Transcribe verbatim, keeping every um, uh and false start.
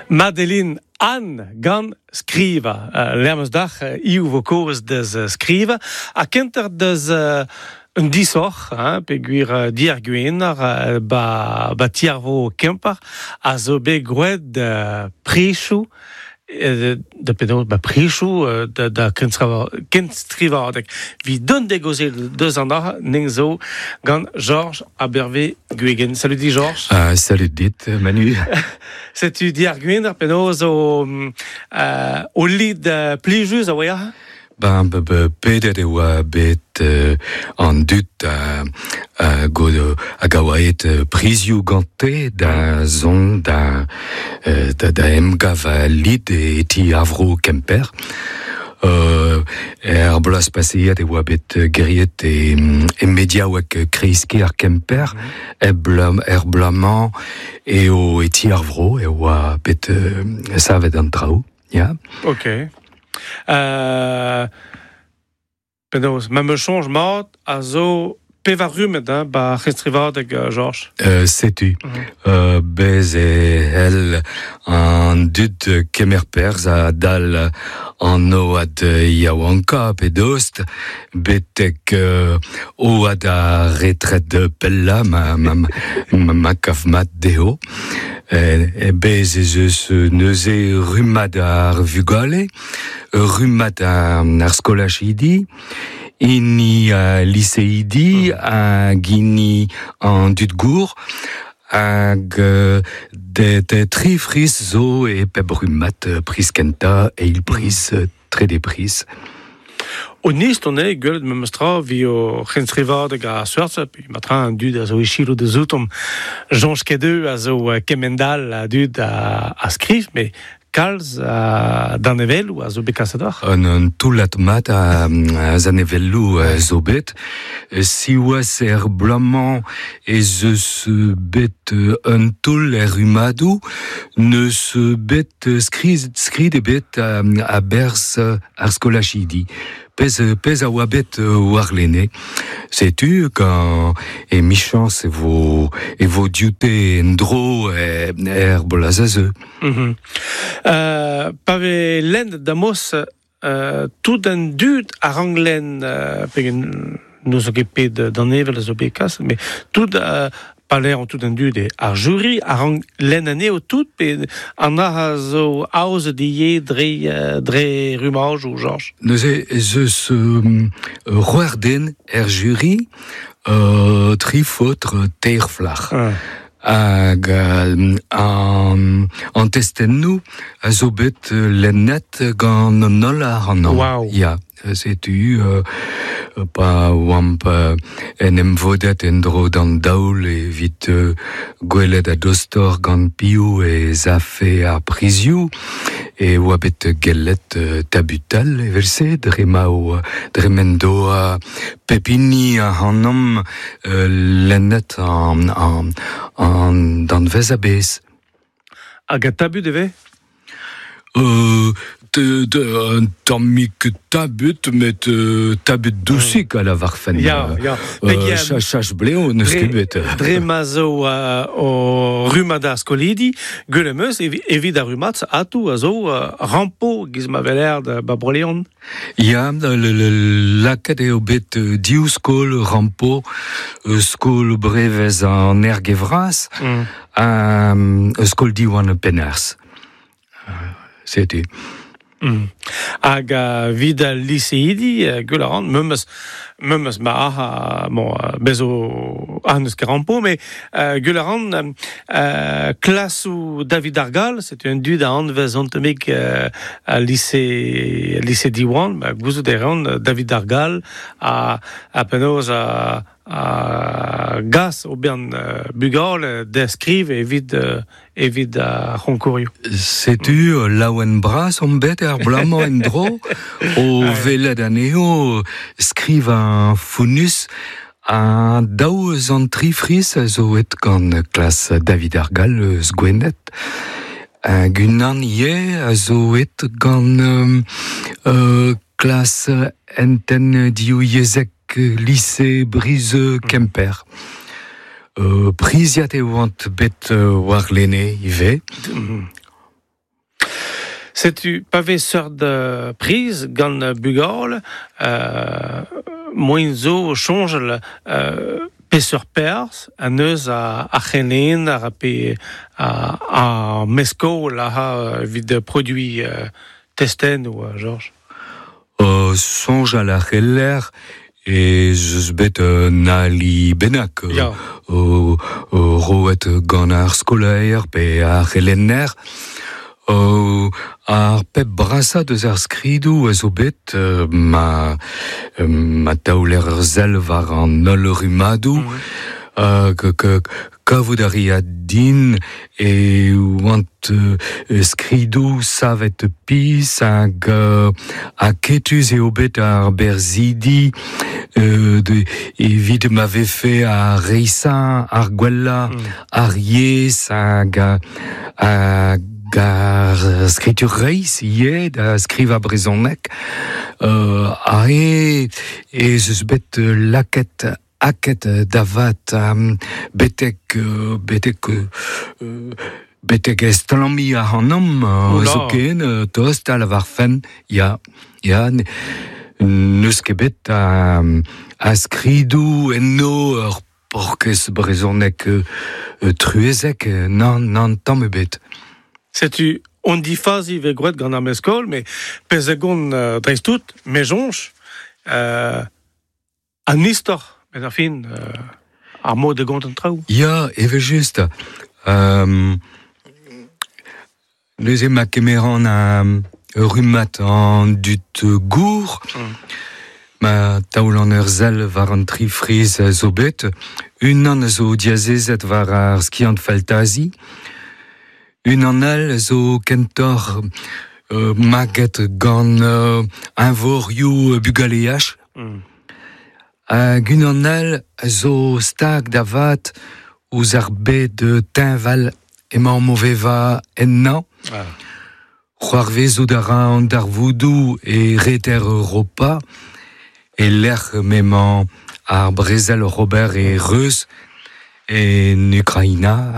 Madeline Anne gant skriva. Uh, Lermeus dach uh, iu vo koz deus uh, skriva. A kenter deus uh, un disoc'h, hein, pe gwir uh, diar gwenar, uh, ba, ba tiarvo Kemper, a zo bet groet uh, prechou, euh, da penaos, ba prechou euh, da, da kenstrivadeg. Vi don degozel deus an ar ning zo gant Georges Abervé Guegen. Salut dit Georges. Uh, salut dit Manu. Setu diar gwenar penaos o, euh, o lid uh, plijus a oa? Ben, be, be, pedet e oa bet euh, an dud a, a, god, hag a oa et prizioù gante da zon da, da, da emgav a lid e ti avro Kemper. Euh, er bloaz paseet e oa bet geriet e, e mediaouek kreiske ar Kemper, mm -hmm. er, blam, er blamañ e o e ti ar vro e oa bet euh, savet an traoù. Yeah. Ok. Euh, penaos, ma me change mat a zo pevar rumet, hein, ba c'hestrivadeg, uh, Georges. Euh, setu. Mm -hmm. euh, bez e hel an dud kemer perz a dal an oad yaouanka pe dost betek euh, oad a retret pella ma, ma, ma, ma kaf mat dezho. E, e bez ez eus neuze rummad ar vugale, rummad ar, ar skolachidi, hini a liseidi, hag hini an dud gour, hag de, de tri friz zo e peb rummad priz kenta, eil priz, trede priz. O nist on eo gwelet memes tra vi o c'henstrivadeg a seurt, pe matra an dud a zo ichilo de zoutom Jean Skedeu a zo kemendal a dud a, a skriv, me kalz a danevelloù a zo bet kaset oc'h. Un, un toullad mat a, a zanevelloù a zo bet. Siwazh er bloaz-mañ ez eus bet un toull er rummadoù, neus bet skrid, skrid ebet a, a berz ar skolachidi. Pez, pez a oa bet war lene. Setu, quand e michans e vo, e vo dioute en dro e, er bolaz a zeu. Mm -hmm. euh, pa ve lend da mos euh, tout an dud a rang len euh, pegen nous zo ket pet d'an evel a zo bet kas, mais tout euh, pa l'air an tout an dud e ar jury a rang len anezho tout pe an ar a zo aoz die dre, dre rumaj ou Georges. Neuze ez eus euh, c'hwec'h den er jury, euh, tri faotr teir flac'h. Ah. Hag an, an testennoù a zo bet lennet gant an holl ar an an. Wow. Ya, setu euh, pa oamp euh, en em vodet en dro d'an daol evit euh, gwelet a dostor gant piou e zafe ar prizioù e oa bet gellet euh, tabutal evel-se dre ma o dre men doa pepini a hanom euh, lennet an, an, an danvez a bez. Hag a tabut eve? Euh, de, de, un tammik tabut, met euh, tabut dousik a la varfen. Ya, ya. Euh, chach, chach bleo, neus ket bet. Dre ma zo uh, o rummad ar skolidi, gwell em eus evit ar rummad atou a zo uh, rampo giz ma veler da ba Bro-Leon. Ya, le, le, lakaet eo bet div skol rampo, skol brevez an ergevraz, mm. um, skol diwan penars. Setu. Mm. Hag uh, vid al liseidi, uh, gwell a ran, memes, memes ma aha, bon, uh, bezo ah, neus ket rampo, mais uh, gwell a ran, uh, klasou David Argal, setu un dud a anvez antemik uh, a lycée, lycée Diwan, ba, gouzout e ran David Argal a, a penaos a, a gas o bern uh, bugal deskriv evit, uh, evit ar c'honkourioù. Setu mm. laouen bras on bet ar blamañ en dro o velet anezho skriv an founus an daou eus an tri friz a zo et gant klas David Argal eus Gwened. Hag unan ivez a zo et gant euh, euh, klas enten div yezhek lycée Brizeux Kemper. Euh, priziat e oant bet euh, war lene ivez. Mm. Setu pa vez seurt uh, priz gant bugale, euh, moin zo soñjal euh, peseurt perzh an eus a, a c'helen ar pe a, a meskol a ha evit produit euh, testen ou euh, Georges. Uh, soñjal a c'heller ez eus bet un ali bennak Ya. o, o roet gant ar skolaer pe ar c'helenner. O, ar pep brasa deus ar skridou a zo bet euh, ma, euh, ma taoler ur sell war an holl rummadoù Mm. euh, ke, ke, kavout a ria din e oant euh, skridou savet pis hag euh, aketus eo bet ar berzidi euh, de, evit ma vefe ar reisañ ar gwella Mm. ar yezh hag hag ar skritur reizh ivez da skrivañ brezhoneg euh, ae ez eus bet lakaet aket da vat um, betek euh, betek euh, betek estlammiñ ac'hanomp euh, Oula. zoken euh, tost a lavarfen ya ya ne- n'eus ket bet a, a skridou enno ur porkez brezhoneg euh, euh, truezek euh, nann nann tamm ebet. Setu on difazi ve gwraet gant ar meskol, met pezh a gont euh, dreist-tout, me soñj, euh, an istor, met ar fin, euh, ar mod de gont an traoù. Ya, evel-just. Euh, neuze ma kemeran a rummad an dud gour, Mm. ma taol an ur sell war an tri friz a zo bet, unan a zo diazezet war ar skiant faltazi, unan all a zo kentoc'h euh, maget gant euh, eñvorioù bugaleaj, Mm. hag unan all a zo stag da vat ouzh ar bed teñval emañ o vevañ ennañ. Ah. C'hoarvezout a ra an darvoudoù e reter Europa, e lec'h m'emañ ar brezel oc'h ober e reuz en Ukraina.